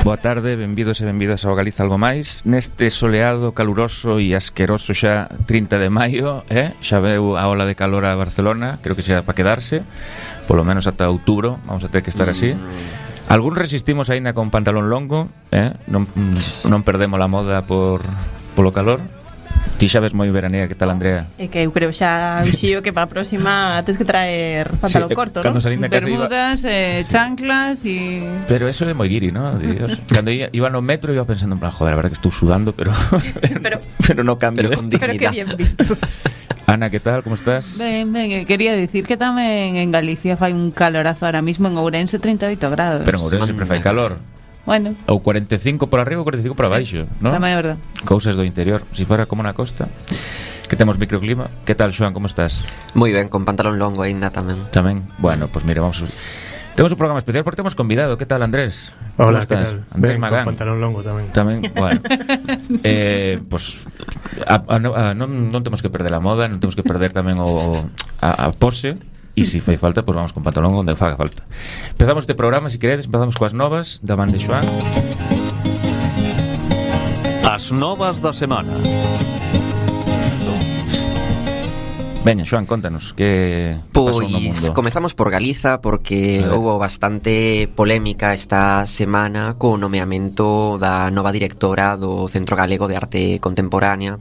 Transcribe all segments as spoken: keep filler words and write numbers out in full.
Boa tarde, benvidos e benvidas ao Galiza Algo Máis. Neste soleado, caluroso e asqueroso xa trinta de maio, eh? Xa veu a ola de calor a Barcelona. Creo que xa para quedarse, polo menos ata outubro. Vamos a ter que estar así. Algún resistimos aínda con pantalón longo, eh? non, non perdemos a moda por polo calor. Ti xa ves moi veranea, que tal, Andrea? É que eu creo xa vixío que para a próxima tens que traer pantalón sí, corto, non? Bermudas, iba... eh, sí. chanclas e... Pero eso é moi guiri, ¿no? Dios. Cando iba, iba no metro iba pensando en plan, joder, a verdad que estou sudando, pero pero, pero no cambio pero, esto. Pero que bien visto. Ana, ¿qué tal? ¿Cómo estás? Ben, ben, quería decir que tamén en Galicia fai un calorazo ahora mismo, en Ourense trinta e oito grados. Pero en Ourense sempre fai calor. Bueno. Ou cuarenta e cinco por arriba ou cuarenta e cinco por abaixo, sí, ¿no? Tamén é verdade. Cousas do interior, se si fora como na costa. Que temos microclima. Que tal, Xoan, como estás? Moi ben, con pantalón longo aínda tamén. Tamén. Bueno, pois pues mira, vamos a... Temos un programa especial porque temos convidado. Que tal, Andrés? Hola, que tal? Andrés ben, Magán. Con pantalón longo tamén. Tamén, bueno. eh, pues a, a, a, non, non temos que perder a moda, non temos que perder tamén o a, a pose. E se fai falta, pois pues vamos con pantalón onde faga falta. Empezamos este programa, se si queredes, empezamos coas novas da man de Xoan. As novas da semana. Veña, Xoan, contanos que pasou no mundo. Pois comezamos por Galiza porque houve bastante polémica esta semana co nomeamento da nova directora do Centro Galego de Arte Contemporánea,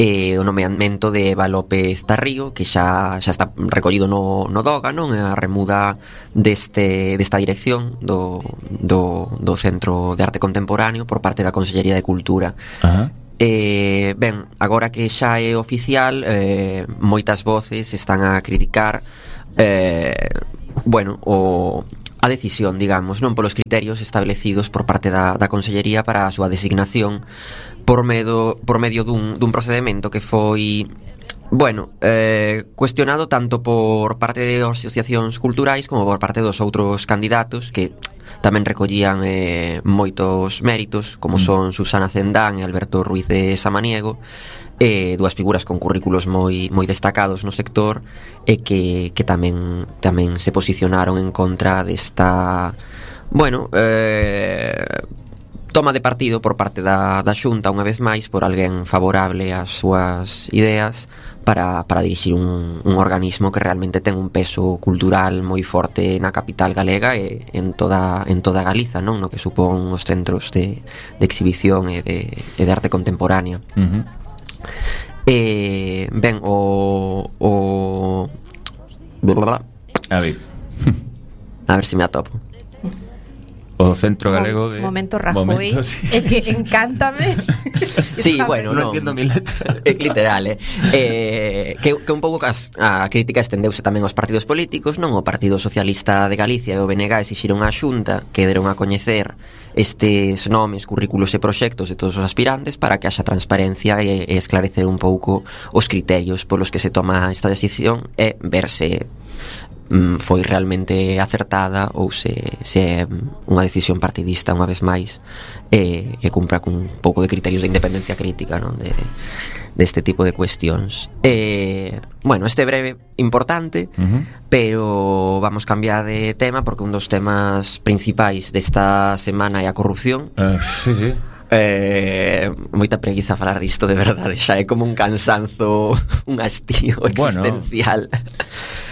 e o nomeamento de Eva López Tarrío, que xa xa está recollido no no DOGA, non? A remuda deste desta dirección do do do Centro de Arte Contemporáneo por parte da Consellería de Cultura. Ajá. Eh, ben, agora que xa é oficial, eh, moitas voces están a criticar eh, bueno, o, a decisión, digamos, non polos criterios establecidos por parte da, da Consellería para a súa designación por medio, por medio dun, dun procedimento que foi, bueno, eh, cuestionado tanto por parte de asociacións culturais como por parte dos outros candidatos que tamén recollían eh, moitos méritos, como son Susana Cendán e Alberto Ruiz de Samaniego, eh, dúas figuras con currículos moi moi destacados no sector e que, que tamén tamén se posicionaron en contra desta, bueno, eh, toma de partido por parte da, da Xunta unha vez máis por alguén favorable ás súas ideas para, para dirixir un, un organismo que realmente ten un peso cultural moi forte na capital galega e en toda, en toda Galiza, non? No que supón os centros de, de exhibición e de, e de arte contemporánea. Uh-huh. E, ben, o... o a ver a ver se me atopo. O Centro Galego de... Momento Rajoy. Momento, sí. É que encántame. Sí, bueno, non no, entiendo mi letra. É literal, eh. eh que, que un pouco as, a crítica estendeuse tamén aos partidos políticos, non? O Partido Socialista de Galicia e o B N G exixiron á Xunta que deron a coñecer estes nomes, currículos e proxectos de todos os aspirantes para que haxa transparencia e, e esclarecer un pouco os criterios polos que se toma esta decisión e ver se foi realmente acertada ou se, se é unha decisión partidista unha vez máis, eh, que cumpra con un pouco de criterios de independencia crítica, non? De, deste tipo de cuestións. Eh, bueno, este breve importante, uh-huh. Pero vamos cambiar de tema porque un dos temas principais desta semana é a corrupción. Uh, sí, sí. Eh, moita preguiza falar disto, de verdade, xa é como un cansanzo, un hastío existencial. Bueno.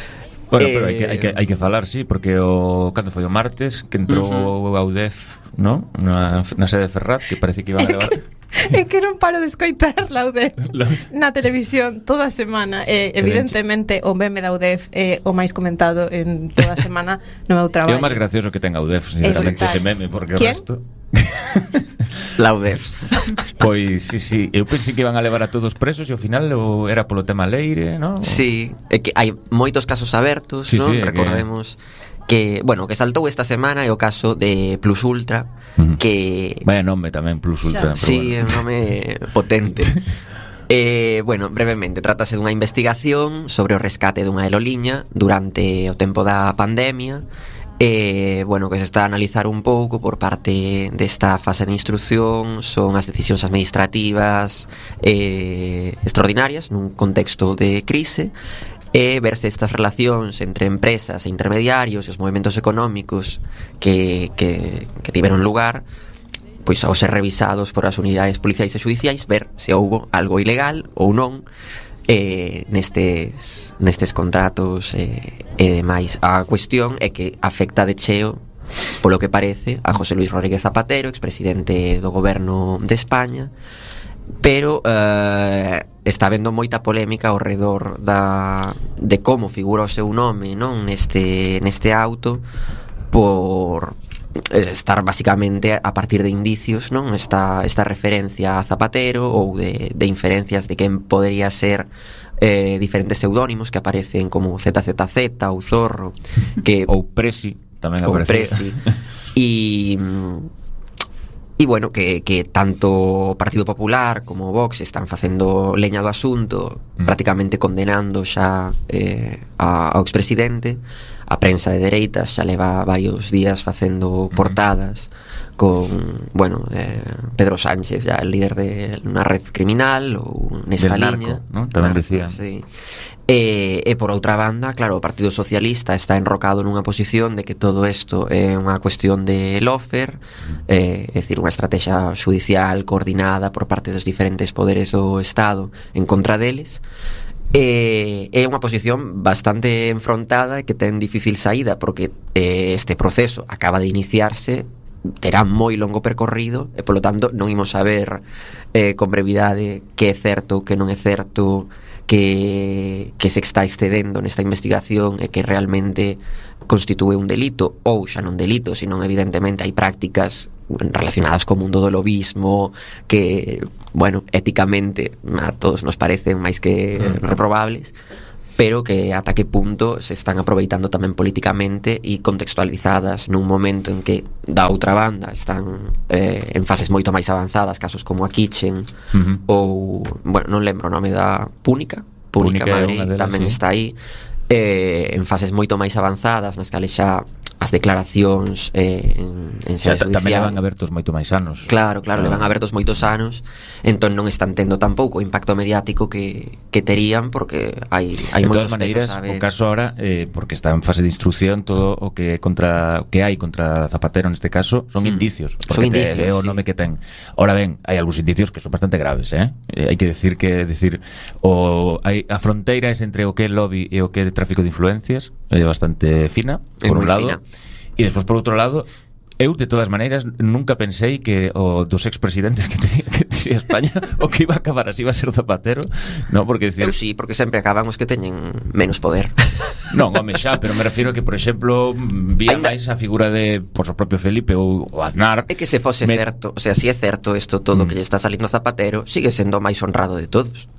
Bueno, eh, pero hai que, hai, que, hai que falar, sí, porque o cando foi o martes que entrou uh-huh. a U D E F, ¿no? Na, na sede de Ferraz, que parece que iban a levar... É que non paro de escoitar la U D E F na televisión toda a semana. E, evidentemente, o meme da U D E F é o máis comentado en toda a semana no meu traballo. É o máis gracioso que ten a U D E F, sinceramente, ese meme, porque o resto... La U D E F. Pois, sí, sí, eu pensei que iban a levar a todos presos e ao final o era polo tema Leire, ¿no? Sí, é que hai moitos casos abertos, sí, ¿no? Sí, recordemos que... que, bueno, que saltou esta semana é o caso de Plus Ultra, uh-huh. que... Vaya nome tamén, Plus Ultra. Sí, é bueno. un nome potente. Eh, bueno, brevemente, trátase dunha investigación sobre o rescate dunha aeroliña durante o tempo da pandemia. E, bueno, que se está a analizar un pouco por parte desta fase de instrucción son as decisións administrativas eh, extraordinarias nun contexto de crise e verse estas relacións entre empresas e intermediarios e os movimentos económicos que, que, que tiveron lugar pois ao ser revisados por as unidades policiais e judiciais, ver se houbo algo ilegal ou non eh, nestes, nestes contratos eh, e demais. A cuestión é que afecta de cheo, polo que parece, a José Luis Rodríguez Zapatero, expresidente do goberno de España, pero eh, está habendo moita polémica ao redor da, de como figura o seu nome, non, neste, neste auto, por estar basicamente a partir de indicios, non, esta, esta referencia a Zapatero ou de, de inferencias de quen podería ser eh, diferentes pseudónimos que aparecen como Z Z Z ou Zorro, que ou Presi tamén ou aparece. Presi e E bueno, que, que tanto o Partido Popular como o Vox están facendo leña do asunto, mm. prácticamente condenando xa eh, a, ao expresidente. A prensa de dereitas xa leva varios días facendo portadas mm. con, bueno, eh, Pedro Sánchez, ya el líder de unha red criminal ou nesta del liña, narco, ¿no? Tamén narco, decían. sí. E, e por outra banda, claro, o Partido Socialista está enrocado nunha posición de que todo isto é unha cuestión de lofer, eh, é dicir, unha estrategia judicial coordinada por parte dos diferentes poderes do Estado en contra deles. E é unha posición bastante enfrontada e que ten difícil saída, porque eh, este proceso acaba de iniciarse, terá moi longo percorrido e polo tanto non imos saber eh, con brevidade que é certo, que non é certo, que, que se está excedendo nesta investigación e que realmente constitúe un delito ou xa non delito, senón evidentemente hai prácticas relacionadas co mundo do lobismo que, bueno, éticamente a todos nos parecen máis que reprobables, pero que ata que punto se están aproveitando tamén políticamente e contextualizadas nun momento en que da outra banda están eh, en fases moito máis avanzadas, casos como a Kitchen uh-huh. ou, bueno, non lembro o nome da Púnica Púnica, Púnica Madrid delas, tamén sí. está aí eh, en fases moito máis avanzadas nas cales xa as declaracións eh, en, en sede judicial tamén levan abertos moito máis anos. Claro, claro, levan abertos moitos anos, entón non están tendo tampouco o impacto mediático que, que terían, porque hai, hai moitos maneiras, pesos, sabes? O caso ahora, eh, porque está en fase de instrucción, todo o que contra o que hai contra Zapatero neste caso son hmm. indicios, porque son indicios, te, é o nome sí. que ten. Ahora ben, hai algúns indicios que son bastante graves, eh? eh hai que decir que decir o hai a fronteira es entre o que é lobby e o que é tráfico de influencias, é bastante fina, por un lado. Fina. E despois, por outro lado, eu, de todas maneiras, nunca pensei que o dos expresidentes que tenía, que tenía España o que iba a acabar así iba a ser Zapatero, no, porque decir... Eu sí, porque sempre acaban os que teñen menos poder. Non, home, xa, pero me refiro que, por exemplo, vía Ainda... máis a figura de, por o propio Felipe ou o Aznar... É que se fose me... certo, o sea, si é certo isto todo mm. que lle está salindo Zapatero, sigue sendo o máis honrado de todos.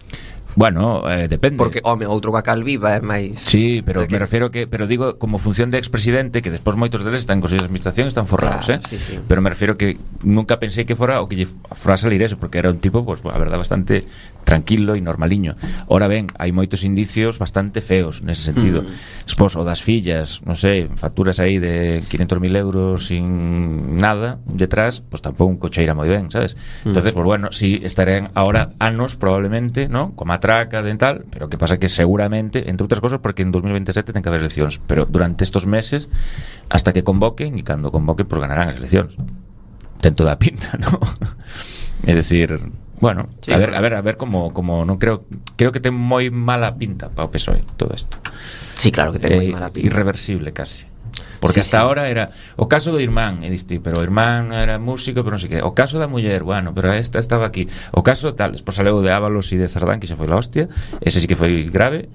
Bueno, eh, depende. Porque, home, outro que a Calviva é máis... Sí, pero me refiero que... Pero digo, como función de expresidente, que despois moitos deles están en consellos de administración, están forrados, claro, eh? Sí, sí. Pero me refiero que nunca pensei que fora o que lle fora a salir eso, porque era un tipo, pues, a verdad, bastante tranquilo e normaliño. Ora ben, hai moitos indicios bastante feos nese sentido. Mm. Despois, o das fillas, non sei, facturas aí de quinhentos mil euros sin nada detrás, pues tampouco un cocheira moi ben, sabes? Mm. Entonces, pues bueno, sí, estarán ahora anos probablemente, ¿no? Como atraca de tal, pero que pasa que seguramente, entre outras cosas, porque en dos mil veintisiete ten que haber eleccións, pero durante estos meses hasta que convoquen, e cando convoquen, pues ganarán as eleccións. Ten toda a pinta, ¿no? É decir, bueno, sí, a ver, a ver, a ver como como non creo, creo que ten moi mala pinta para o P S O E todo isto. Sí, claro que ten moi eh, mala pinta. Irreversible casi. Porque sí, hasta sí. ahora era o caso do irmán, e diste, pero o irmán era músico, pero non sei que. O caso da muller, bueno, pero esta estaba aquí. O caso tal, despois saleu de Ábalos e de Cerdán, que xa foi la hostia. Ese sí que foi grave.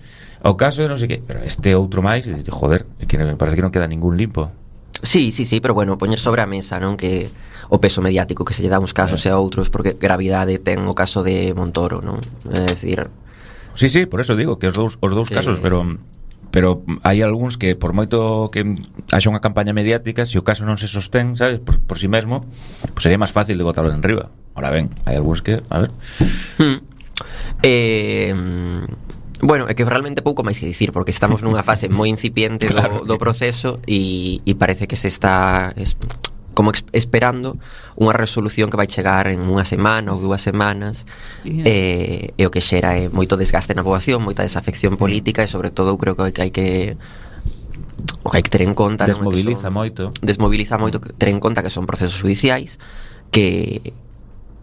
O caso de non sei que, pero este outro máis, e diste, joder, que me parece que non queda ningún limpo. Sí, sí, sí, pero bueno, poñer sobre a mesa, non, que o peso mediático que se lle dá uns casos eh. e a outros, porque gravidade ten o caso de Montoro, non? É dicir... Sí, sí, por eso digo que os dous, os dous que... casos, pero... pero hai algúns que por moito que haxa unha campaña mediática, se o caso non se sostén, sabes, por, por si mesmo, pues sería máis fácil de botarlo en riba. Ahora ben, hai algúns que, a ver. Hmm. Eh, bueno, é que realmente pouco máis que dicir, porque estamos nunha fase moi incipiente claro. do, do proceso e, e parece que se está es, como esperando unha resolución que vai chegar en unha semana ou dúas semanas, yeah. e, e o que xera é moito desgaste na poboación, moita desafección política, e sobre todo eu creo que hai que o que hai que ter en conta desmoviliza non, moito desmoviliza moito ter en conta que son procesos judiciais que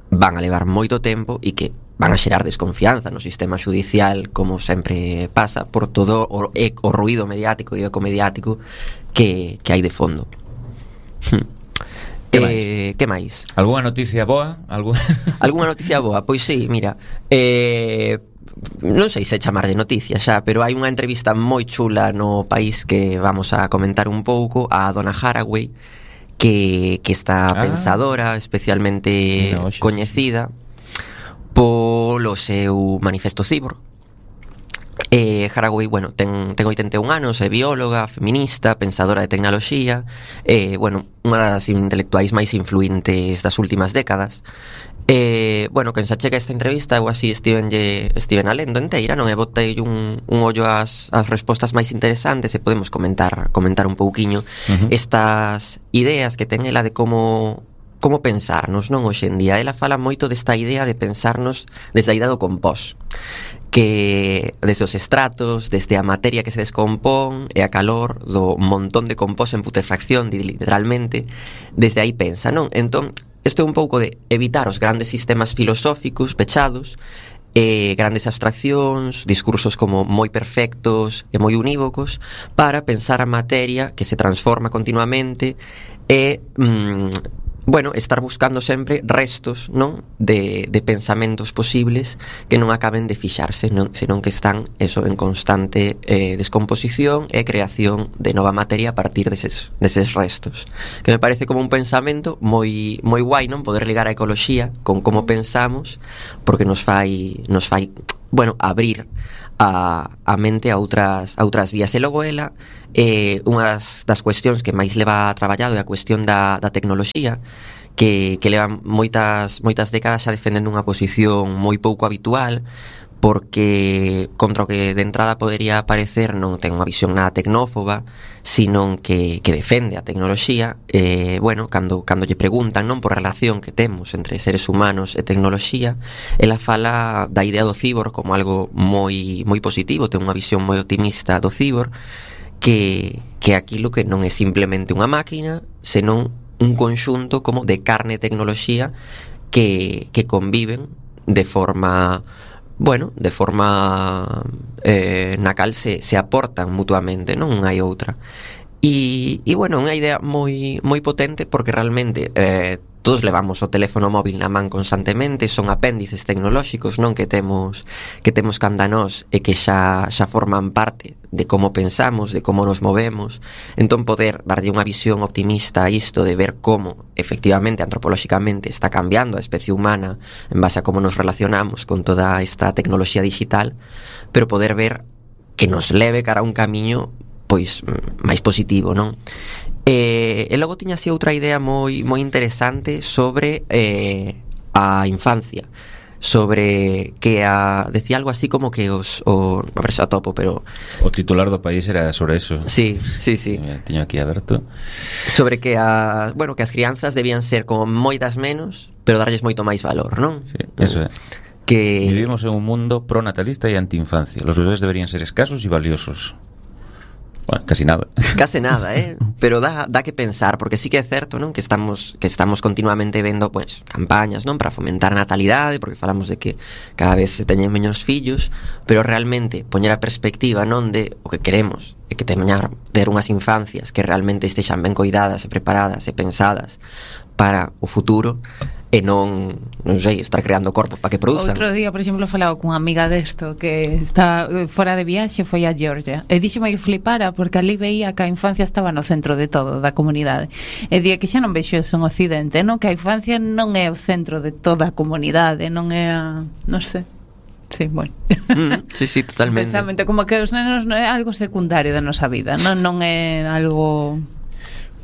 van a levar moito tempo e que van a xerar desconfianza no sistema judicial, como sempre pasa, por todo o, o ruido mediático e eco mediático que, que hai de fondo. Que eh, máis? Que máis? Alguna noticia boa? Algún... Alguna noticia boa? Pois sí, mira, eh, non sei se chamarlle noticia xa, pero hai unha entrevista moi chula no País que vamos a comentar un pouco a dona Haraway, que, que esta ah. pensadora especialmente no, coñecida polo seu manifesto Cyborg. Eh, Haraway, bueno, ten, ten oitenta e un anos, é bióloga, feminista, pensadora de tecnoloxía, eh, bueno, unha das intelectuais máis influentes das últimas décadas. Eh, bueno, quen se achega esta entrevista, eu así estivenlle, estiven a lendo enteira, non? E botei un, un ollo ás, ás respostas máis interesantes e podemos comentar comentar un pouquiño uh-huh. estas ideas que ten ela de como como pensarnos, non, hoxe en día. Ela fala moito desta idea de pensarnos desde a idea do compós, que desde os estratos, desde a materia que se descompón e a calor do montón de compós en putrefacción, literalmente, desde aí pensa, non? Entón, isto é un pouco de evitar os grandes sistemas filosóficos pechados, eh, grandes abstraccións, discursos como moi perfectos e moi unívocos, para pensar a materia que se transforma continuamente e... Mm, bueno, estar buscando sempre restos, non, de, de pensamentos posibles que non acaben de fixarse, non, senón que están eso en constante eh, descomposición e creación de nova materia a partir deses, deses restos, que me parece como un pensamento moi moi guai, non, poder ligar a ecoloxía con como pensamos, porque nos fai nos fai, bueno, abrir a, a mente a outras a outras vías. E logo ela, eh, unha das, das cuestións que máis leva traballado é a cuestión da, da tecnoloxía, que, que leva moitas moitas décadas xa defendendo unha posición moi pouco habitual, porque contra o que de entrada podería parecer non ten unha visión nada tecnófoba, sino que, que defende a tecnoloxía. Eh, bueno, cando, cando lle preguntan, non, por relación que temos entre seres humanos e tecnoloxía, ela fala da idea do cibor como algo moi moi positivo, ten unha visión moi optimista do cibor, que, que aquilo que non é simplemente unha máquina, senón un conxunto como de carne e tecnoloxía que, que conviven de forma... bueno, de forma eh, na cal se, se aportan mutuamente, non unha e outra. E, e bueno, unha idea moi moi potente, porque realmente eh, todos levamos o teléfono móvil na man constantemente, son apéndices tecnolóxicos, non, que temos que temos canda nós e que xa xa forman parte de como pensamos, de como nos movemos. Entón, poder darlle unha visión optimista a isto, de ver como efectivamente, antropolóxicamente, está cambiando a especie humana en base a como nos relacionamos con toda esta tecnoloxía digital, pero poder ver que nos leve cara a un camiño pois máis positivo, non? E, e logo tiña así outra idea moi moi interesante sobre eh, a infancia, sobre que a decía algo así como que os o a ver se a topo, pero o titular do País era sobre eso. Sí, sí, sí. Tiño aquí aberto. Sobre que a, bueno, que as crianzas debían ser como moitas menos, pero darlles moito máis valor, non? Sí, eso é. Que vivimos en un mundo pronatalista e antiinfancia. Los bebés deberían ser escasos e valiosos. Bueno, casi nada. Case nada, eh? Pero dá, dá que pensar, porque sí que é certo, non? Que estamos que estamos continuamente vendo, pues, campañas, non? Para fomentar a natalidade, porque falamos de que cada vez se teñen menos fillos, pero realmente poñer a perspectiva, non, de o que queremos, é que teñar ter unhas infancias que realmente estexan ben coidadas e preparadas e pensadas para o futuro, e non, non sei, estar creando corpos para que produzan. Outro día, por exemplo, falaba cunha amiga desto que está fora de viaxe, foi a Georgia, e díxeme que flipara porque ali veía que a infancia estaba no centro de todo, da comunidade, e día que xa non vexo eso en Occidente, non? Que a infancia non é o centro de toda a comunidade, non é a... non sei. Sí, bueno. Mm, sí, sí, totalmente. Pensamente, como que os nenos non é algo secundario da nosa vida, non, non é algo...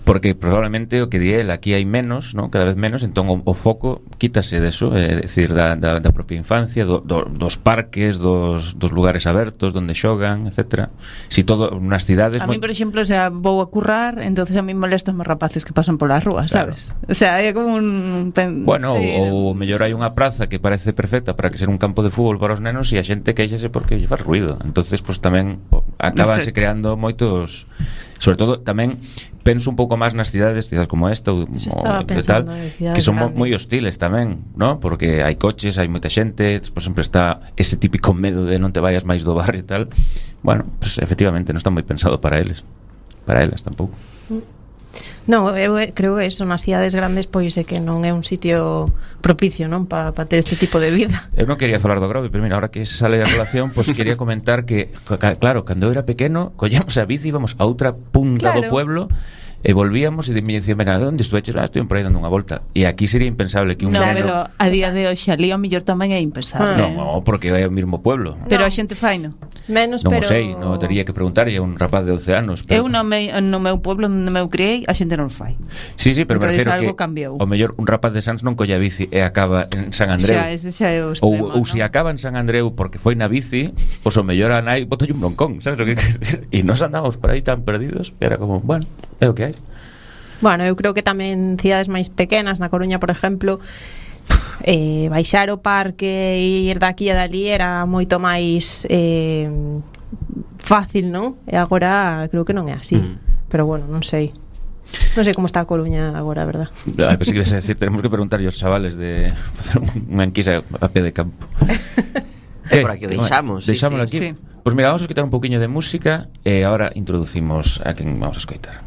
Porque probablemente o que di el, aquí hai menos, ¿no? Cada vez menos, entón o, o foco quítase deso, é eh, dicir, da, da, da propia infancia, do, do, dos parques, dos, dos lugares abertos donde xogan, etcétera. Si todo nas cidades... A mí, por exemplo, o sea, vou a currar, entonces a mí molestan os rapaces que pasan polas rúas, claro. Sabes? O sea, é como un... Pen... Bueno, sí, ou no. mellor hai unha praza que parece perfecta para que ser un campo de fútbol para os nenos e a xente queixase porque lle faz ruido. Entonces, pues tamén acabanse no sé. creando moitos... Sobre todo tamén penso un pouco máis nas cidades, cidades como esta ou, estaba ou pensando tal, en cidades que son grandes. moi hostiles tamén, ¿no? Porque hai coches, hai moita xente, despois sempre está ese típico medo de non te vayas máis do barrio e tal. Bueno, pues efectivamente non está moi pensado para eles, para elas tampouco. No, eu creo que eso nas cidades grandes pois é que non é un sitio propicio, non, para pa ter este tipo de vida. Eu non quería falar do Grove, pero mira, ahora que sale a colación, pois pues quería comentar que, claro, cando eu era pequeno, collíamos a bici, íbamos a outra punta Claro. do pueblo e volvíamos e me dicían, mira, onde estuveches? Ah, estoy por aí dando unha volta. E aquí sería impensable que un No, neno... pero a día de hoxe ali ao mellor tamén é impensable. Ah. No, porque é o mesmo pueblo. Pero No. a xente fai, no? Menos, Non o pero... sei, non teria que preguntarlle a un rapaz de doce anos. Pero... Eu no, me, no meu pueblo onde me criei, a xente non o fai. Sí, sí, pero me Entonces refiero algo que cambiou. o mellor un rapaz de Sans non colla bici e acaba en San Andreu. Xa, ese xa é o Ou, extremo, ou se acaba en San Andreu porque foi na bici, pois o mellor a nai botolle un broncón, sabes o que quero dicir? E nos andamos por aí tan perdidos que era como, bueno, é o que hai. Bueno, eu creo que tamén cidades máis pequenas, na Coruña, por exemplo, eh, baixar o parque e ir daqui e dali era moito máis eh, fácil, non? E agora creo que non é así. Mm. Pero bueno, non sei. Non sei como está a Coruña agora, a verdad. Ah, pensei que ibas a decir, tenemos que preguntar aos chavales de facer unha enquisa a pé de campo. É por aquí o deixamos, sí, Deixámoslo sí. aquí. Sí. Pois pues mira, vamos a quitar un poquinho de música e agora introducimos a quen vamos a escoitar.